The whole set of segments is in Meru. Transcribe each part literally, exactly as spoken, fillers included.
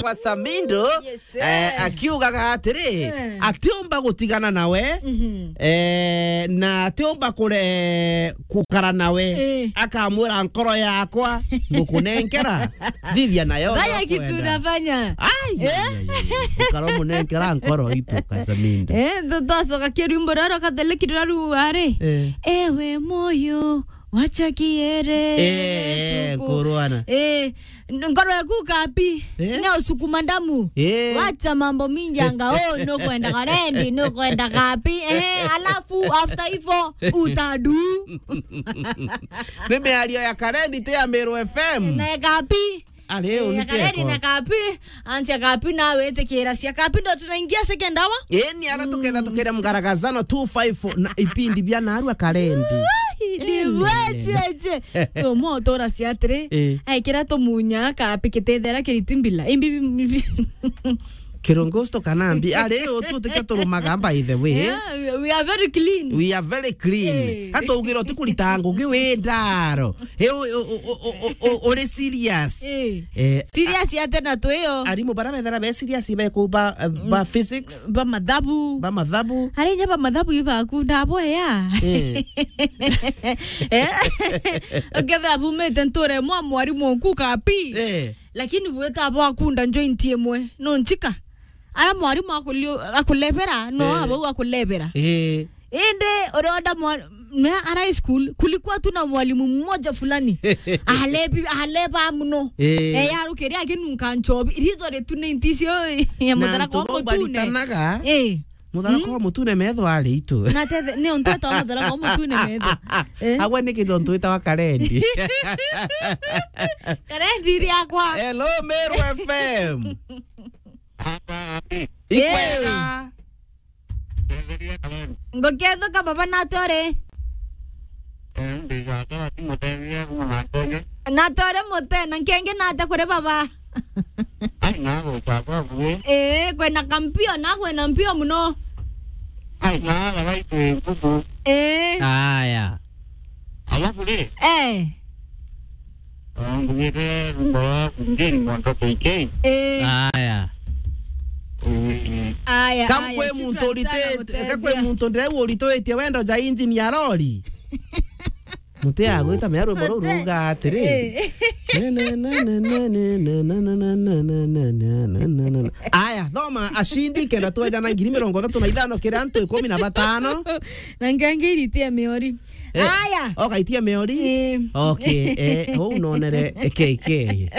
kwa Samindo, yes, eh, eh, akiugaga atiri, eh, atiumba gutigana nawe, mhm, eh, na atiumba kure-, gukara nawe. Eh. Akamwira, "Nkoro yakwa ngukunenkera, thithia nayo uria ukwenda." Fanya kitu unafanya. Ai, eh? Ai, ai, ai. Ukaro munenkera nkoro itu, Kasamindo. Eh, ndo twacoka kirwimbo roro kathele kirira riu ari. Eh. Ewe moyo, wacha kiere. Eh, eh, suku. Nkuruana. Eh, N-, ngoro yaku kapi. Eh? Ni usukuma damu. Eh. Wacha mambo mingi anga, oh, nukwenda karendi, nukwenda kapi. Eh, alafu after hivyo utadu. Ni miario ya karendi ti ya Meru F M. Na kapi. Ari, eh, u ni ya karendi keko. Na kapi. Ansia kapi na wetikira cia kapi ndo tunaingia second hour. Eh, ni ara tuketha tukira mgaragazano two five four na ipindi bia narua karendi. Ai, ni wecheche. Tumo tora cia atiri. Eh. Aikira tumunya kapi kitethera kiriti mbila. Imbi. Kirongosto kana mbi. Ari, o tu tika turumaga, by the way. Yeah, we, we are very clean. We are very clean. Eh. Hata ugira uti kurita ngugi wi ndaro. He, u-, u-, uri serious. Eh. Eh, serious ya tena tu iyo. Arimu bara bethera be serious be ku ba, eh, ba physics. Ba mathabu. Ba mathabu. Ari nya ba mathabu ibaku ndabo ya. Eh. Eh? Ukethira bumite nture mwa mwarimu ku kapi. Eh. Lakini bwita bwakunda joint imwe. No nchika. Ara mwarimu akulio-, akulebera, no, eh, abau akulebera. Eh. Indi uria wenda mwa-, me ara high school, kulikuwa tu na mwalimu mmoja fulani. Alebi-, aleba muno. Eh. Eh, yarukiria akinunka nchobi. Ritho ritunite icio ya na muthara kwa mutune. Eh. Muthara kwa mutune metho ari itu. Na tete, ni untu etawa muthara kwa mutune metho. Eh. Agwe ni kintu untu etawa karendi. Karendi iri akwa. Hello, Meru F M. Ikwega. Ngukethuka baba, nate uri? Eh, ndi gaka batimuteethia kuma na nkenye. Nate uri mute, na nkengi nate kuri baba? Ai, na gucagwa bui. Eh, kwina kampio, na kwina mpio muno. Ai, na baba itu ngubu. Eh. Aya. Alafu ri? Eh. Mbugite rumba wa Kunjeni Mwanka K K. Eh. Aya. Mm. Aya, kam aya, kwe muntu shukran sana, urite-, ka kwe muteethia. Muntu ndire urituitie wendo ja injini ya lori. Muti agwita mea rwimbo ruu ruga atiri. Eh. Aya, thoma ashindi kenda tweja na ngiri mirongo ithatu na ithano kiri antu ikumi na batano. Na ngangi iritie miori. Eh, aya. Okaitia miori? Eh. Okay, eh, huu nonere K K.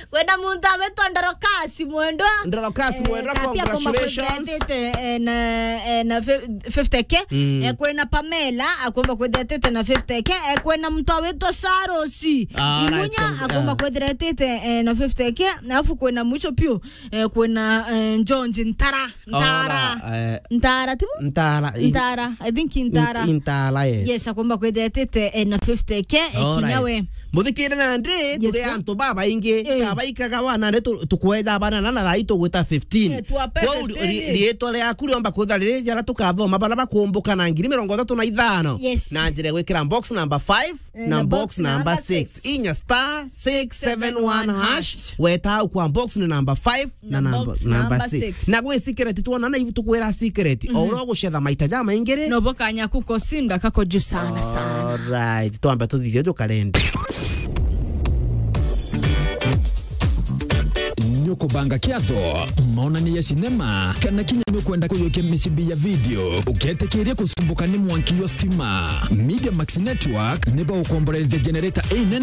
Kwina muntu awitwa Ndorokasi Mwendwa. Ndorokasi Mwendwa, eh, congratulations. Akomba kwithira etite, eh, na, eh, na fif-, fifty K. Mm. Eh, kwina Pamela, akomba kwithira etite na fifty K. Eh, kwina muntu awitwa Sarosi. Ah, right, Imunya, akomba kwithira etite, eh, na fifty K. Alafu kwina mwisho piu, eh, kwina, eh, George Ntara. Ntara. Ora, eh, Ntara, tibu? Ntara, i-, Ntara. I think Ntara. Nt-, Ntara, yes. Yes, akomba kwithira etite, eh, na fifty K, eh, kinya we. Muthikire nandi, yes, turi sir. Antu babaingi, eh, tabaikaga wana, ni tu-, tukweja bana na, na thai tugwita fifteen. Eh, tuape fifteen. Kwou ri-, ri-, riitwa riaku riomba kwithira riri jara tukathoma bara bakumbuka na ngiri mirongo ithatu na ithano. Yes. Na njira ya gwikira box number five, eh, na box number six. Inya star six seven one hash. Weta au kwa box ni number five na number six. Na gwi secret twona na ibu tukwira secret. Mhm. O uria ugucetha maita ja maingi ri. No bukanya kukosinda kako juu sana sana. Alright, twambe tuthithie jukarendi. Nukubanga kiatho, maonania ya sinema, kana kinya nukwenda kuyukia micibi ya video, uketikiria kusumbuka ni mwanki wa stima. Media Max Network ni bagukomborerithia generator inene